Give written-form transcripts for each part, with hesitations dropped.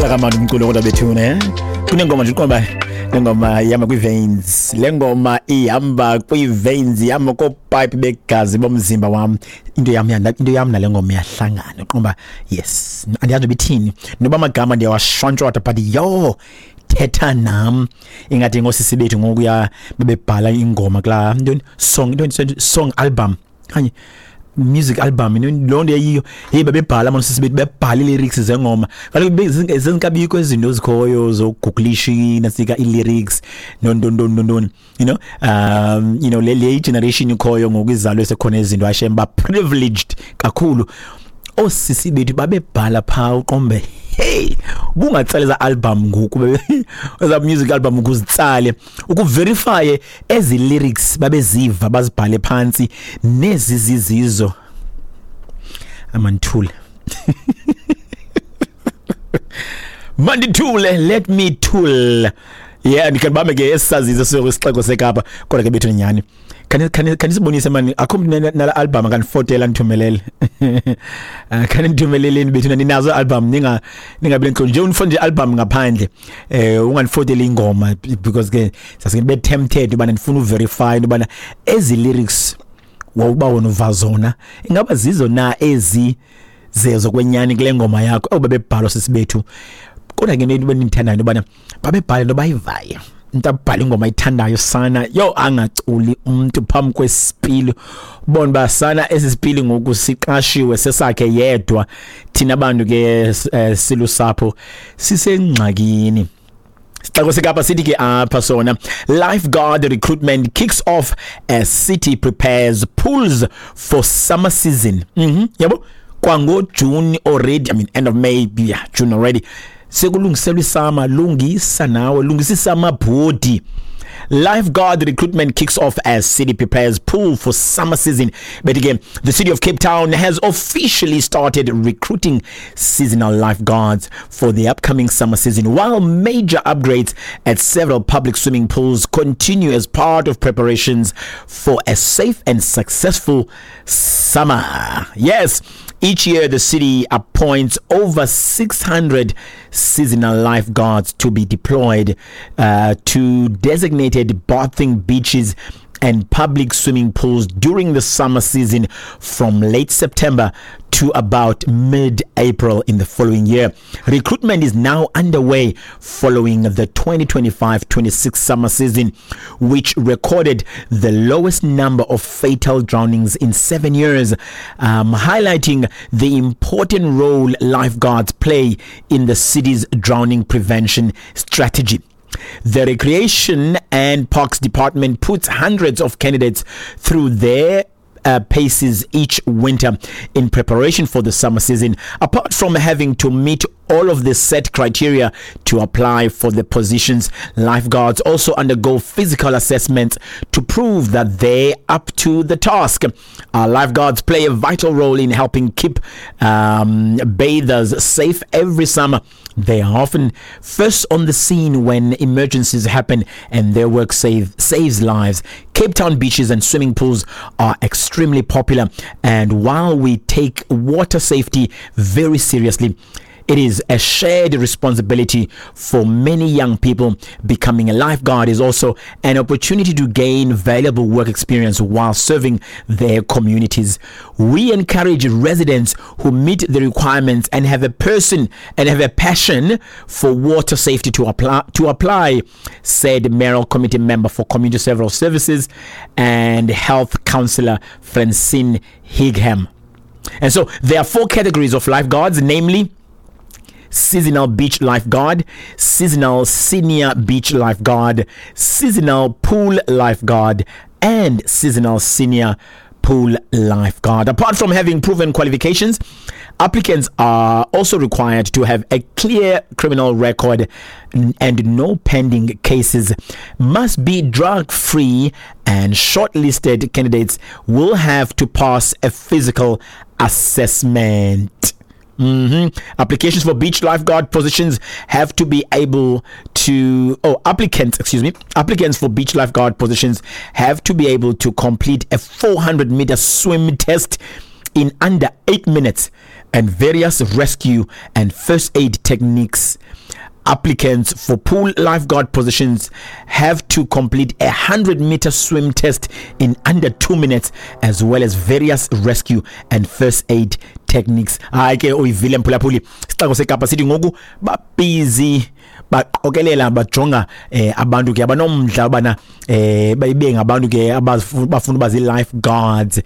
Kamandi umculo kodwa bethuna, kunengoma nje uqonda le ngoma ihamba kwii-veins, le ngoma ihamba kwii-veins, ihamba koopayipi begazi bomzimba wam. Into yam, into yam nale ngoma iyahlangana. Uqonda, yes, andiyazi noba ithini, noba amagama ndiyawashwantshwatha, but yho, thetha nam ingathi ngoosisi bethu ngokuya bebebhala ingoma kulaa ntoni, song, ntoni, song album okanye music album, loo nto yayiyo. Heyi, babebhala mani sisi bethu, bebhala ii-lyrics zengoma. Kaloku zingekabikho izinto zikhoyo zogugulisha nasika ii-lyrics nontontontontoni, le generation ikhoyo ngoku izalwe sekhona izinto ashem ba-privileged kakhulu. Oosisi bethu babebhala phaa, uqombe hey, ubungatsala eza album ngoku, eza music album, ukuzitsale ukuverifye ezi lyrics babeziva bazibhale phantsi nezi zizizo. Amandithule, mandithule, let me tool. Yeah, ndikhe ke esisazizo sisixeko seKapa, kodwa ke bethu nyhani khanisibonise mani, akho mntu nala album akanifotela ndithumelele. Khanindithumeleleni bethu, ninazo album, ningabi nentloni nje unifone nje album ngaphandle, ungandifoteli ingoma, because ke sasike be tempted ubana ndifuna uverify into yobana ezi lyrics wawuba wona uva zona ingaba zizo na ezi zezo kwenyani kule ngoma yakho. Oh, babebhalwa sisi bethu. Kodwa ke into endiyithandayo into yobana babebhala into bayivayo. Umntu abhale ingoma ayithandayo sana, yho, angaculi umntu phambi kwesipili, ubone uba sana esi sipili ngoku siqashiwe, sesakhe yedwa. Thina bantu ke silusapho sisengxakini. Sixeko seKapa sithi ke apha sona, lifeguard recruitment kicks off as city prepares pools for summer season. Yabo, kwango-June already, I mean end of May, yeah, June already, sekulungiselwa isummer. Lungisa nawe, lungisa isummer body. Lifeguard recruitment kicks off as city prepares pool for summer season. But again, the city of Cape Town has officially started recruiting seasonal lifeguards for the upcoming summer season, while major upgrades at several public swimming pools continue as part of preparations for a safe and successful summer. Yes, each year the city appoints over 600 seasonal lifeguards to be deployed to designated bathing beaches and public swimming pools during the summer season from late September to about mid-April in the following year. Recruitment is now underway following the 2025-26 summer season, which recorded the lowest number of fatal drownings in 7 years, highlighting the important role lifeguards play in the city's drowning prevention strategy. The Recreation and Parks Department puts hundreds of candidates through their paces each winter in preparation for the summer season. Apart from having to meet all of the set criteria to apply for the positions, lifeguards also undergo physical assessments to prove that they're up to the task. Lifeguards play a vital role in helping keep bathers safe every summer. They are often first on the scene when emergencies happen, and their work saves lives. Cape Town beaches and swimming pools are extremely popular, and while we take water safety very seriously, it is a shared responsibility for many young people. Becoming a lifeguard is also an opportunity to gain valuable work experience while serving their communities. We encourage residents who meet the requirements and have a person and have a passion for water safety to apply, said Mayoral Committee member for Community Several Services and Health Councillor Francine Higham. And so there are four categories of lifeguards, namely seasonal beach lifeguard, seasonal senior beach lifeguard, seasonal pool lifeguard, and seasonal senior pool lifeguard. Apart from having proven qualifications, applicants are also required to have a clear criminal record and no pending cases, must be drug free, and shortlisted candidates will have to pass a physical assessment. Applications for beach lifeguard positions have to be able to, oh, applicants, excuse me, applicants for beach lifeguard positions have to be able to complete a 400-meter swim test in under 8 minutes. and various rescue and first aid techniques. Applicants for pool lifeguard positions have to complete a 100 meter swim test in under 2 minutes, as well as various rescue and first aid techniques. Hayi ke, uyivile mphulaphuli, isixeko seKapa sithi ngoku babhizi baqokelela, bajonga abantu ke abanomdla ubana bayibe ngabantu ke abafuna uba zii-lifeguards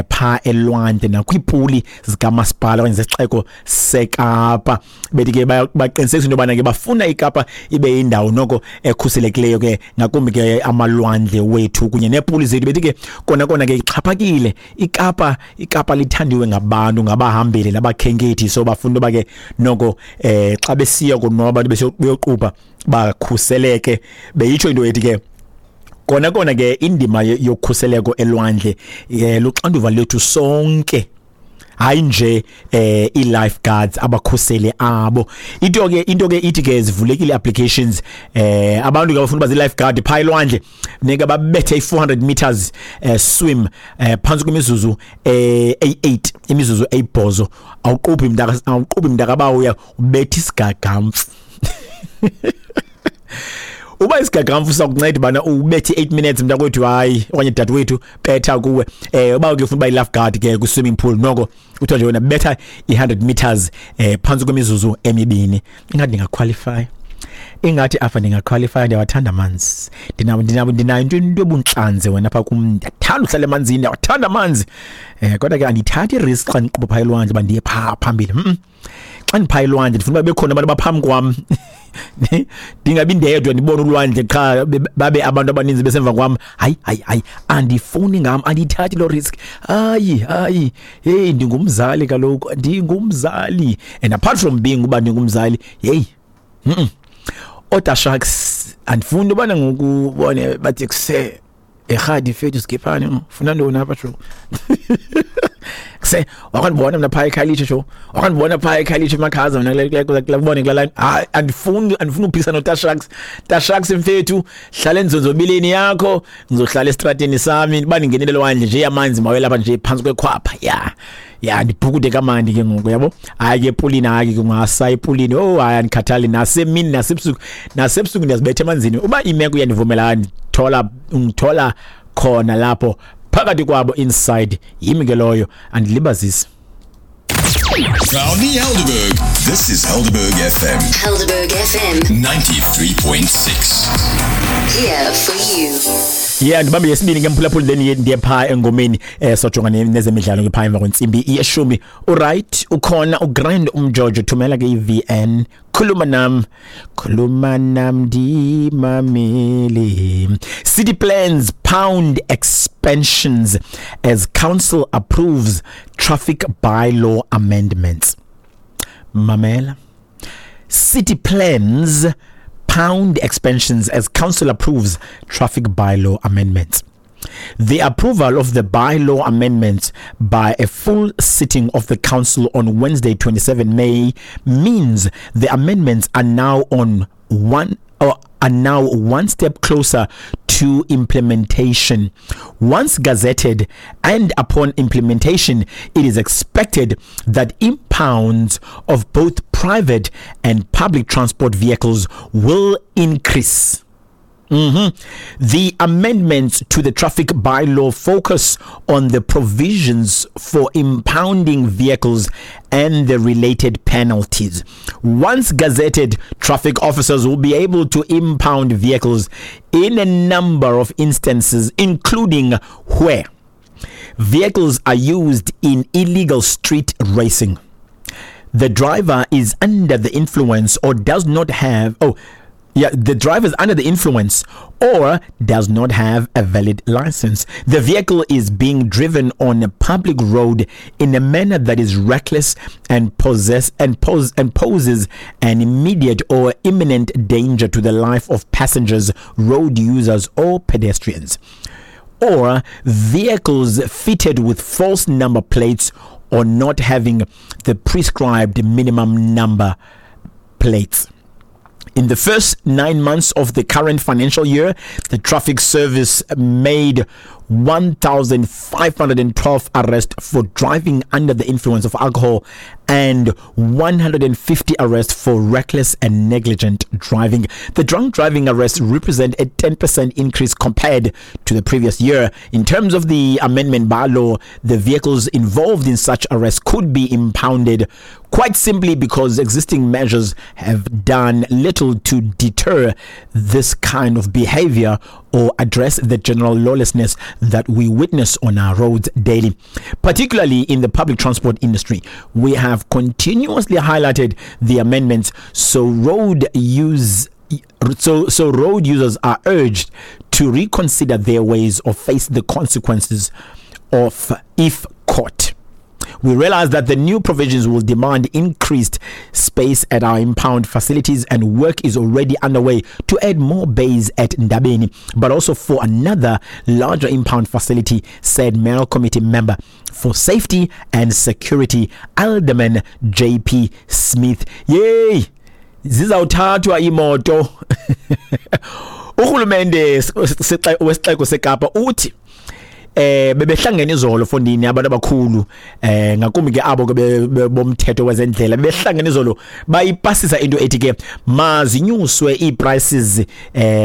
phaa elwandle nakwiipuli zikamasipala okanye zesixeko seKapa. Bethi ke baqinisekisa into yobana ke bafuna iKapa ibe yindawo noko ekhuselekileyo ke, ngakumbi ke amalwandle wethu kunye neepuli zethu. Bethi ke kona kona ke ixhaphakile iKapa, iKapa lithandiwe ngabantu, ngabahambeli nabakhenkethi, so bafuna uba ke noko xa besiya konwaba abantu beyoqubha bakhuseleke. Beyitsho into ethi ke kona kona ke indima yokhuseleko elwandle luxanduva lethu sonke, hayi nje i-lifeguards, abakhuseli abo. Into ke ithi ke zivulekile applications. Abantu ke abafuna uba zii-lifeguard phaa elwandle funeka babethe i-400 meters swim phantsi kwemizuzu eyi-8, imizuzu 8. Awuqubhi mntaka, awuqubhi mntakabawo, uya ubetha isigagamfu. Uba isigagamfu sakunceda bana ubethe 8 minutes, mntakwethu, hayi, okanye dadewethu, betha kuwe. Uba ke ufuna uba yi-lifeguard ke kwi-swimming pool, noko kuthiwa nje wena betha i-100 meters phantsi kwemizuzu 2. Ingathi ndingaqualify, ingathi apha ndingaqualify. Ndiyawathanda amanzi, ndinayo into ebuntlanzi wena apha kum. Ndiyathanda uhlala emanzini, ndiyawathanda amanzi, kodwa ke andithathi i-risk xa ndiqubha phaa elwandle uba ndiye phaa phambili. Xa ndiphaa elwandle ndifuna uba bekhona abantu abaphambi kwam, ndingabi ndedwa ndibone ulwandle qha, babe abantu abaninzi besemva kwam. Hayi, hayi, hayi, andifuni ngam, andiyithathi loo risk. Hayi, hayi, heyi, ndingumzali kaloku, ndingumzali, and apart from being uba ndingumzali, heyi, Oda sharks andifuni ubana ngoku bone bathi kuse erhadi fethu sikiphani, ufuna ntoni apha sho? Kuse wakandibona mna phaa eKhayelitsha sho, wakandibona phaa eKhayelitsha emakhaza mna kule kubone kula line. Hayi, andifuni uphikisana noTa Sharks. Ta Sharks mfethu, hlala enzonzobileni yakho, ngizohlala esitrateni sami. Uba ndingenile lwandle nje, amanzi mawelapha nje phantsi kwekhwapha ya ndibhukude kamandi ke ngoku, yabo. Hayi ke epulini, hayi ke kungasa epulini. Oh hayi, andikhathali nasemini nasebusuku, nasebusuku ndiyazibetha emanzini uba imeko iyandivumela. Ndithola, ngithola khona lapho phakathi kwabo inside, yimi ke loyo, andilibazisi. Proudly Helderberg. This is Helderberg FM. Helderberg FM. 93.6. Here for you. Yeah, ndibambe yesibini ke mphulaphuli, then ndiye phaa engomeni. Sojonga nezemidlalo ke phaa emva kwentsimbi yeshumi. Uright, ukhona uGrand Umjojo, thumela ke i-VN, khuluma nam, khuluma nam ndimamele. City plans pound expansions as council approves traffic bylaw amendments. Mamela, city plans pound expansions as council approves traffic bylaw amendments. The approval of the bylaw amendments by a full sitting of the council on Wednesday, 27 May, means the amendments are now one step closer to implementation. Once gazetted and upon implementation, it is expected that impounds of both private and public transport vehicles will increase. The amendments to the traffic bylaw focus on the provisions for impounding vehicles and the related penalties. Once gazetted, traffic officers will be able to impound vehicles in a number of instances, including where vehicles are used in illegal street racing, the driver is under the influence or does not have, oh yeah, the driver is under the influence or does not have a valid license, the vehicle is being driven on a public road in a manner that is reckless and possess and pose and poses an immediate or imminent danger to the life of passengers, road users or pedestrians, or vehicles fitted with false number plates or not having the prescribed minimum number plates. In the first 9 months of the current financial year, the traffic service made 1,512 arrests for driving under the influence of alcohol and 150 arrests for reckless and negligent driving. The drunk driving arrests represent a 10% increase compared to the previous year. In terms of the amendment bylaw, the vehicles involved in such arrests could be impounded quite simply because existing measures have done little to deter this kind of behavior or address the general lawlessness that we witness on our roads daily, particularly in the public transport industry. We have continuously highlighted the amendments so road use so so road users are urged to reconsider their ways or face the consequences of if caught. We realize that the new provisions will demand increased space at our impound facilities, and work is already underway to add more bays at Ndabeni, but also for another larger impound facility, said Mayoral Committee member for Safety and Security, Alderman JP Smith. Yay! Zizawuthathwa imoto. Urhulumente wesixeko seKapa uthi bebehlangene izolo fondini abantu abakhulu, ngakumbi ke abo ke bomthetho wezendlela. Behlangene izolo, bayipasisa into ethi ke mazinyuswe ii-prices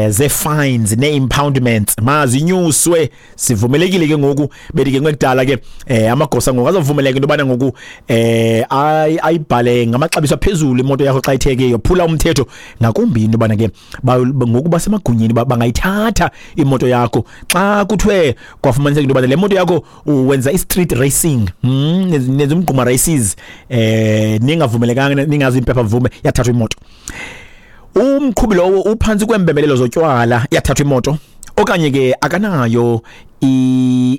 ze-fines nee-impoundments, mazinyuswe. Sivumelekile ke ngoku, bethi ke ngekudala ke amagosa ngoku azovumeleka into yobana ngoku ayibhale ngamaxabiso aphezulu imoto yakho xa ithe ke yophula umthetho, ngakumbi into yobana ke ngoku basemagunyeni, bangayithatha imoto yakho xa kuthiwe kwafumaniseka into yobana le moto yakho wenza i-street racing, nenza umgquma races ningavumelekanga, ningazi impepha mvume, yathathwa imoto. Umqhubi lowo uphantsi kwembembelelo zotywala, yathathwa imoto. Okanye ke akanayo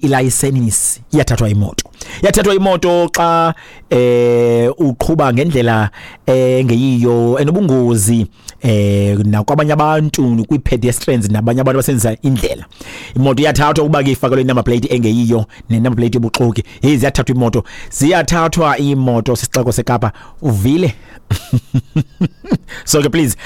ilayisenisi, iyathathwa imoto. Yathathwa imoto xa uqhuba ngendlela engeyiyo, enobungozi nakwabanye abantu, kwi-pedestrians nabanye abantu abasebenzisa indlela. Imoto iyathathwa ukuba ke ifakelwe inumber plate engeyiyo, ne-number plate yobuxoki. Hey, ziyathathwa imoto, ziyathathwa imoto sisixeko seKapa, uvile? So ke please,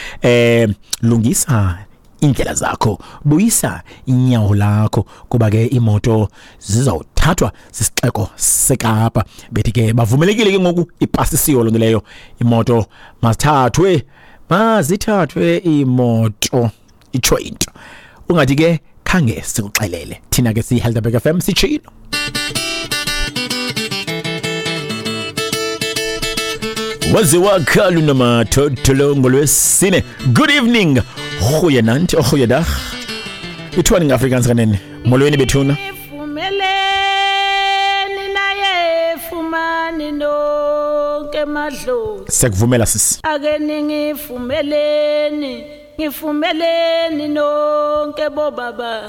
lungisa indlela zakho, buyisa inyawo lakho, kuba ke imoto zizawuthathwa sisixeko seKapa. Bethi ke bavumelekile ke ngoku, ipasisiwe loo nto leyo, imoto mazithathwe, mazithathwe imoto. Itsho into ungathi ke khange sikuxelele. Thina ke siyi-Helderberg FM sitshilo. Waze wakhala unomathotholo ngolwesine. Good evening, goeienaand, goeiedag. Ithiwani ngeAfrikaans kanene? Molweni bethuna. Ifumeleni naye fumani nonke madlozi. Siyakuvumela sisi. Ake ningifumeleni, ngifumeleni nonke bobaba.